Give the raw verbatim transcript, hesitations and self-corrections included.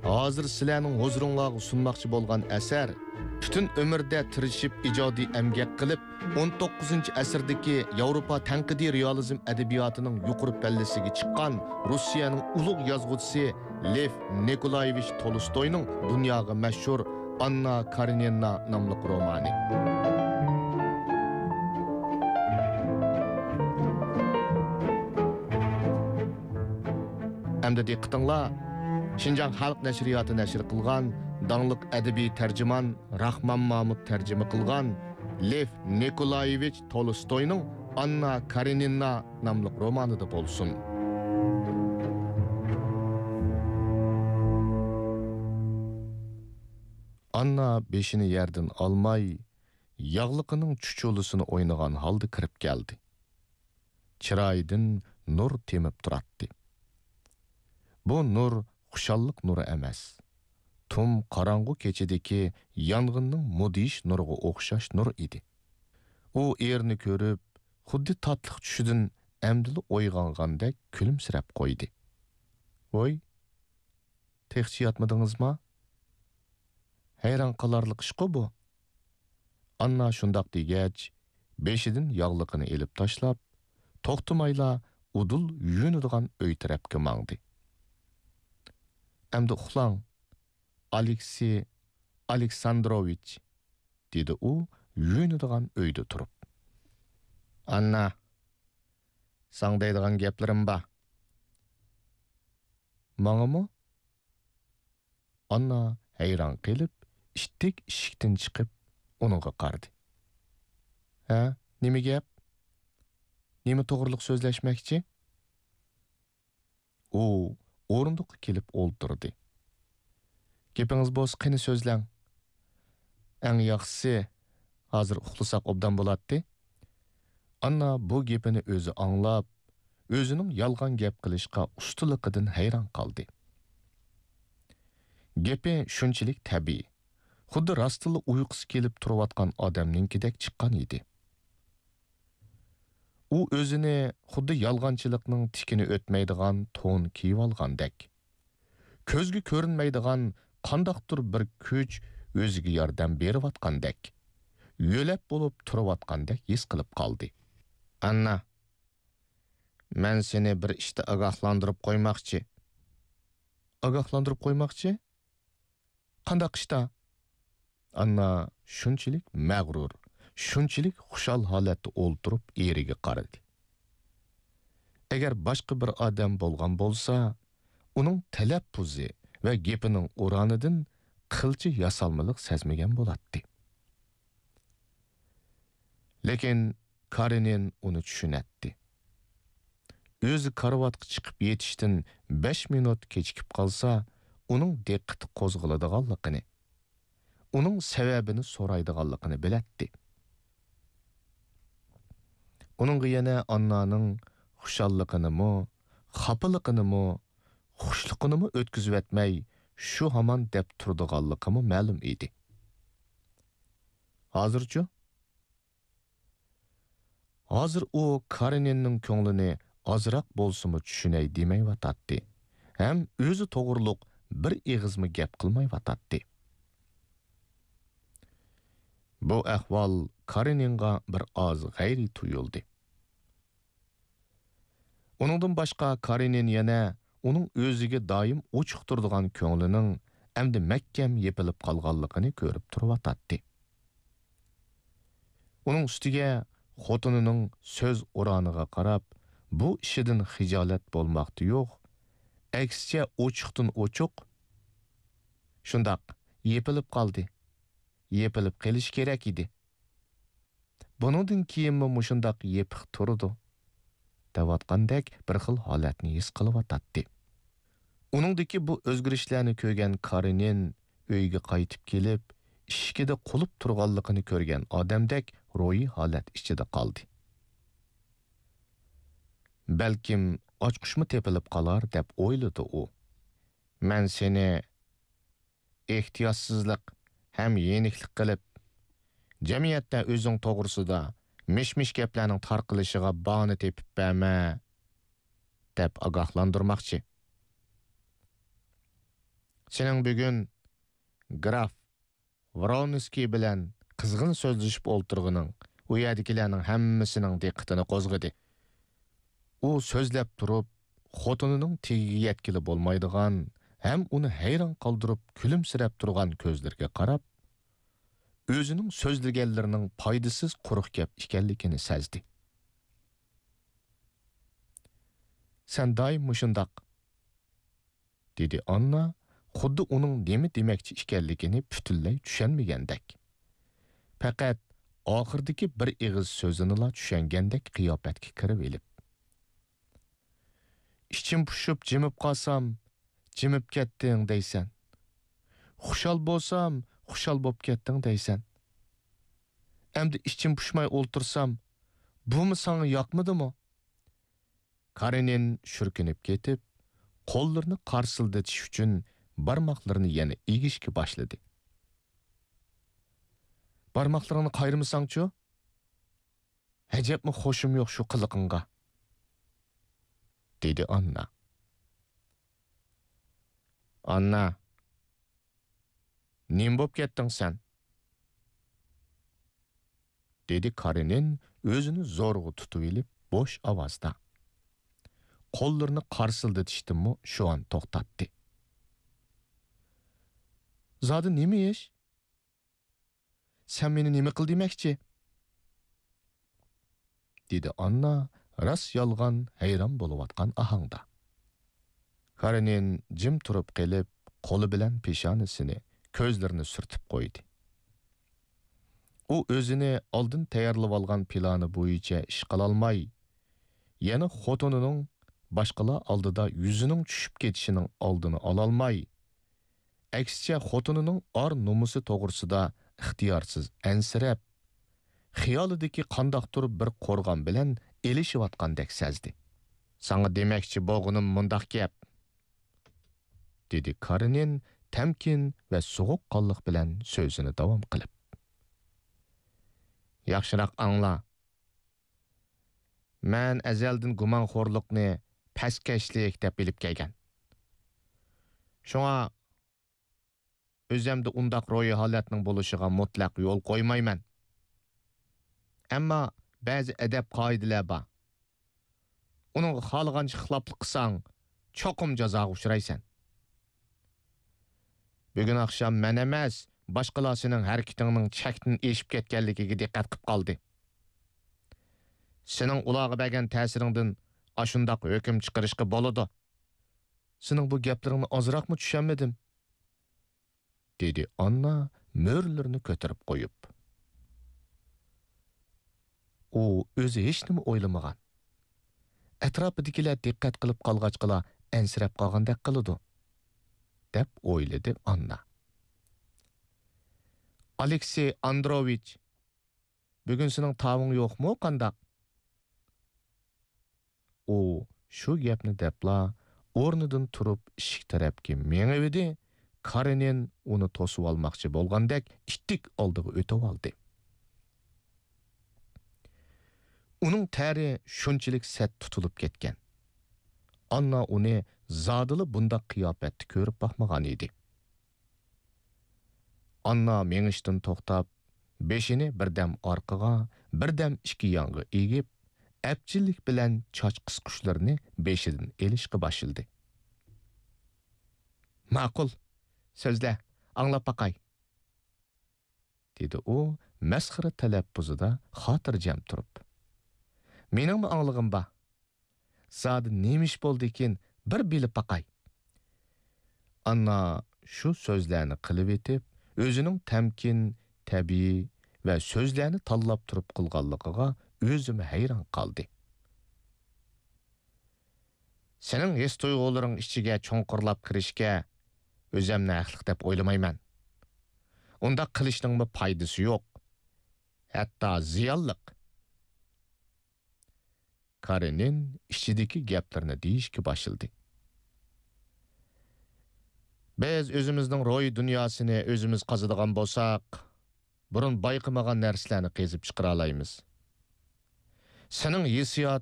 ھازىر سىلەرنىڭ ھۇزۇرۇڭلارغا سۇنماقچى بولغان ئەسەر پۈتۈن ئۆمۈردە تىرىشىپ ئىجادىي ئەمگەك قىلىپ، ئون توققۇزىنچى ئەسىردىكى ياۋروپا تەنقىدىي رېئالىزم ئەدەبىياتىنىڭ يۇقىرى پەللىسىگە چىققان روسىيەنىڭ ئۇلۇغ يازغۇچىسى لېف نىكولايېۋىچ تولستوينىڭ دۇنياغا مەشھۇر ئاننا كارېنىنا ناملىق رومانى. ئەمدى دىققىتىڭلار شىنجاڭ خەلق نەشرىياتى نەشر قىلغان داڭلىق ئەدەبىي تەرجىمان راخمان مامۇت تەرجىمە قىلغان لېف نىكولايېۋىچ تولستوينىڭ ئاننا كارېنىنا ناملىق رومانىدا بولسۇن. ئاننا بېشىنى يەردىن ئالماي، ياغلىقىنىڭ چۇچۇلىسىنى ئوينىغان ھالدا كىرىپ كەلدى. چىرايىدىن نۇر تېمىپ تۇراتتى. بۇ نۇر خۇشاللىق نۇرى ئەمەس، تۇم قاراڭغۇ كېچىدىكى يانغىننىڭ مۇدھىش نۇرىغا ئوخشاش نۇر ئىدى. ئۇ ئېرىنى كۆرۈپ، خۇددى تاتلىق چۈشىدىن ئەمدىلا ئويغانغاندەك كۈلۈمسىرەپ قويدى. ۋوي، تېخىچە ياتمىدىڭىزما؟ ھەيران قالارلىق ئىشقۇ بۇ. ئاننا شۇنداق دېگەچ، بېشىدىن ياغلىقىنى ئېلىپ تاشلاپ، توختىمايلا ئۇدۇل يۇيۇنىدىغان ئۆي تەرەپكە ماڭدى. ئەمدى ئۇخلاڭ، ئالېكسىي ئالېكساندروۋىچ، دېدى ئۇ يۇيۇنىدىغان ئۆيدە تۇرۇپ. ئاننا، ساڭا دەيدىغان گەپلىرىم بار. ماڭىمۇ؟ ئاننا ھەيران قېلىپ، ئىتتىك ئىشىكتىن چىقىپ، ئۇنىڭغا قارىدى. ھە، نېمە گەپ؟ نېمە توغرىلىق سۆزلەشمەكچى؟ ئۇ ئورۇندۇققا كېلىپ ئولتۇردى. گېپىڭىز بولسا قېنى سۆزلەڭ. ئەڭ ياخشىسى، ھازىر ئۇخلىساق ئوبدان بولاتتى. ئاننا بۇ گېپىنى ئۆزى ئاڭلاپ، ئۆزىنىڭ يالغان گەپ قىلىشقا ئۇستىلىقىدىن ھەيران قالدى. گېپى شۇنچىلىك تەبىئىي، خۇددى راستتىنلا ئۇيقۇسى كېلىپ تۇرۇۋاتقان ئادەمنىڭكىدەك چىققان ئىدى. ئۇ ئۆزىنى خۇددى يالغانچىلىقنىڭ تىكىنى ئۆتمەيدىغان تون كىيىۋالغاندەك، كۆزگە كۆرۈنمەيدىغان قانداقتۇر بىر كۈچ ئۆزىگە ياردەم بېرىۋاتقاندەك، يۆلەپ بولۇپ تۇرۇۋاتقاندەك ھېس قىلىپ قالدى. ئاننا، مەن سېنى بىر ئىشتا ئاگاھلاندۇرۇپ قويماقچى. ئاگاھلاندۇرۇپ قويماقچى؟ قانداق ئىشتا؟ ئاننا شۇنچىلىك مەغرۇر، شۇنچىلىك خۇشال ھالەتتە ئولتۇرۇپ ئېرىگە قارىدى. ئەگەر باشقا بىر ئادەم بولغان بولسا، ئۇنىڭ تەلەپپۇزى ۋە گېپىنىڭ ئورانىدىن قىلچە ياسالمىلىق سەزمىگەن بولاتتى. لېكىن كارېنىن ئۇنى چۈشىنەتتى. ئۆزى كارىۋاتقا چىقىپ يېتىشتىن بەش مىنۇت كېچىكىپ قالسا، ئۇنىڭ دىققىتى قوزغىلىدىغانلىقىنى، ئۇنىڭ سەۋەبىنى سورايدىغانلىقىنى بىلەتتى. ئۇنىڭغا يەنە ئاننانىڭ خۇشاللىقىنىمۇ، خاپىلىقىنىمۇ، خۇشلۇقىنىمۇ ئۆتكۈزۈۋەتمەي، شۇ ھامان دەپ تۇرىدىغانلىقىمۇ مەلۇم ئىدى. ھازىرچۇ؟ ھازىر ئۇ كارېنىننىڭ كۆڭلىنى ئازراق بولسىمۇ چۈشىنەي دېمەيۋاتاتتى ھەم ئۆزى توغرۇلۇق بىر ئېغىزمۇ گەپ قىلمايۋاتاتتى. بۇ ئەھۋال كارېنىنغا بىر ئاز غەيرىي تۇيۇلدى. ئۇنىڭدىن باشقا كارېنىن يەنە ئۇنىڭ ئۆزىگە دائىم ئوچۇق تۇرىدىغان كۆڭلىنىڭ ئەمدى مەھكەم يېپىلىپ قالغانلىقىنى كۆرۈپ تۇرۇۋاتاتتى. ئۇنىڭ ئۈستىگە خوتۇنىنىڭ سۆز ئورانىغا قاراپ، بۇ ئىشىدىن خىجالەت بولماقتا يوق، ئەكسىچە ئوچۇقتىن ئوچۇق، شۇنداق، يېپىلىپ قالدى، يېپىلىپ قېلىشى كېرەك ئىدى. بۇنىڭدىن كېيىنمۇ مۇشۇنداق يېپىق تۇرىدۇ، دەۋاتقاندەك بىر خىل ھالەتنى ھېس قىلىۋاتاتتى. ئۇنىڭدىكى بۇ ئۆزگىرىشلەرنى كۆرگەن كارېنىن ئۆيگە قايتىپ كېلىپ، ئىشىكىدە قۇلۇپ تۇرغانلىقىنى كۆرگەن ئادەمدەك روھىي ھالەت ئىچىدە قالدى. بەلكىم ئاچقۇچمۇ تېپىلىپ قالار دەپ ئويلىدى ئۇ. مەن سېنى ئېھتىياتسىزلىق ھەم يېنىكلىك قىلىپ، جەمئىيەتتە ئۆزۈڭ توغرىسىدا مىش-مىش گەپلەرنىڭ تارقىلىشىغا باھانە تېپىپ بەرمە، دەپ ئاگاھلاندۇرماقچى. سېنىڭ بۈگۈن گراف ۋرونسكىي بىلەن قىزغىن سۆزلىشىپ ئولتۇرغىنىڭ ئۇ يەردىكىلەرنىڭ ھەممىسىنىڭ دىققىتىنى قوزغىدى. ئۇ سۆزلەپ تۇرۇپ، خوتۇنىنىڭ تېگىگە يەتكىلى بولمايدىغان ھەم ئۇنى ھەيران قالدۇرۇپ كۈلۈمسىرەپ تۇرغان كۆزلىرىگە قاراپ، ئۆزىنىڭ سۆزلىگەنلىرىنىڭ پايدىسىز قۇرۇق گەپ ئىكەنلىكىنى سەزدى. سەن دائىم مۇشۇنداق، دېدى ئاننا، خۇددى ئۇنىڭ نېمە دېمەكچى ئىكەنلىكىنى پۈتۈنلەي چۈشەنمىگەندەك. پەقەت ئاخىرىدىكى بىر ئېغىز سۆزىنىلا چۈشەنگەندەك قىياپەتكە كىرىۋېلىپ. ئىچىم پۇشۇپ جىمىپ قالسام، جىمىپ كەتتىڭ دەيسەن. خۇشال بولسام، خۇشال بوپ كەتتىڭ دەيسەن. ئەمدى ئىچىم پۇشماي ئولتۇرسام، بۇمۇ ساڭا ياقمىدىمۇ؟ كارېنىن شۈركۈنۈپ كېتىپ، قوللىرىنى قارسىلدىتىش ئۈچۈن بارماقلىرىنى يەنە ئېگىشكە باشلىدى. بارماقلىرىڭنى قايرىمىساڭچۇ؟ ئەجەبمۇ خۇشۇم يوق شۇ قىلىقىڭغا، دېدى ئاننا. ئاننا، نېمە بوپ كەتتىڭ سەن؟ دېدى كارېنىن ئۆزىنى زورغا تۇتۇۋېلىپ بوش ئاۋازدا. قوللىرىنى قارسىلدىتىشتىنمۇ شۇئان توختاتتى. زادى نېمە ئىش؟ سەن مېنى نېمە قىل دېمەكچى؟ دېدى ئاننا راست يالغان ھەيران بولۇۋاتقان ئاھاڭدا. كارېنىن جىم تۇرۇپ قېلىپ، قولى بىلەن پېشانىسىنى، كۆزلىرىنى سۈرتۈپ قويدى. ئۇ ئۆزىنى ئالدىن تەييارلىۋالغان پىلانى بويىچە ئىش قىلالماي، يەنە خوتۇنىنىڭ باشقىلار ئالدىدا يۈزىنىڭ چۈشۈپ كېتىشىنىڭ ئالدىنى ئالالماي، ئەكسىچە خوتۇنىنىڭ ئار-نومۇسى توغرىسىدا ئىختىيارسىز ئەنسىرەپ، خىيالىدىكى قانداقتۇر بىر قورغان بىلەن ئېلىشىۋاتقاندەك سەزدى. ساڭا دېمەكچى بولغىنىم مۇنداق گەپ، دېدى كارېنىن تەمكىن ۋە سوغۇققانلىق بىلەن سۆزىنى داۋام قىلىپ. ياخشىراق ئاڭلا. مەن ئەزەلدىن گۇمانخورلۇقنى پەسكەشلىك دەپ بىلىپ كەلگەن. شۇڭا ئۆزۈمدە ئۇنداق روھىي ھالەتنىڭ بولۇشىغا مۇتلەق يول قويمايمەن. ئەمما بەزى ئەدەپ-قائىدىلەر بار. ئۇنىڭغا خالىغانچە خىلاپلىق قىلساڭ، چوقۇم جازاغا ئۇچرايسەن. بۈگۈن ئاخشام مەن ئەمەس، باشقىلار سېنىڭ ھەرىكىتىڭنىڭ چەكتىن ئېشىپ كەتكەنلىكىگە دىققەت قىپ قالدى. سېنىڭ ئۇلارغا بەرگەن تەسىرىڭدىن ئاشۇنداق ھۆكۈم چىقىرىشقا بولىدۇ. سېنىڭ بۇ گەپلىرىڭنى ئازراقمۇ چۈشەنمىدىم، دېدى ئاننا مۈرىلىرىنى كۆتۈرۈپ قويۇپ. ئۇ ئۆزى ھېچنېمە ئويلىمىغان، ئەتراپىدىكىلەر دىققەت قىلىپ قالغاچقىلا ئەنسىرەپ قالغاندەك قىلىدۇ، دەپ ئويلىدى ئاننا. ئالېكسېي ئاندروۋىچ، بۈگۈن سېنىڭ تاۋۇڭ يوقمۇ قانداق؟ ئۇ شۇ گەپنى دەپلا، ئورنىدىن تۇرۇپ ئىشىك تەرەپكە مېڭىۋىدى، كارېنىن ئۇنى توسۇۋالماقچى بولغاندەك ئىتتىك ئالدىغا ئۆتۈۋالدى. ئۇنىڭ تەرى شۇنچىلىك سەت تۇتۇلۇپ كەتكەن. ئاننا ئۇنى زادىلا بۇنداق قىياپەتتە كۆرۈپ باقمىغان ئىدى. ئاننا مېڭىشتىن توختاپ، بېشىنى بىردەم ئارقىغا، بىردەم ئىككى يانغا ئېگىپ، ئەپچىللىك بىلەن چاچ قىسقۇچلىرىنى بېشىدىن ئېلىشقا باشلىدى. ماقۇل، سۆزلە، ئاڭلاپ باقاي، دېدى ئۇ مەسخىرە تەلەپپۇزىدا خاتىرجەم تۇرۇپ. مېنىڭمۇ ئاڭلىغۇم بار. زادى نېمە ئىش بولدىكىن، بىر بىلىپ باقاي. ئاننا شۇ سۆزلەرنى قىلىۋېتىپ، ئۆزىنىڭ تەمكىن، تەبىئىي ۋە سۆزلەرنى تاللاپ تۇرۇپ قىلغانلىقىغا ئۆزىمۇ ھەيران قالدى. سېنىڭ ھېس-تۇيغۇلىرىڭ ئىچىگە چوڭقۇرلاپ كىرىشكە ئۆزۈمنى ھەقلىق دەپ ئويلىمايمەن. ئۇنداق قىلىشنىڭمۇ پايدىسى يوق. ھەتتا زىيانلىق. كارېنىن ئىچىدىكى گەپلىرىنى دېيىشكە باشلىدى. بىز ئۆزىمىزنىڭ روھىي دۇنياسىنى ئۆزىمىز قازىدىغان بولساق، بۇرۇن بايقىمىغان نەرسىلەرنى قېزىپ چىقىرالايمىز. سېنىڭ ھېسسىيات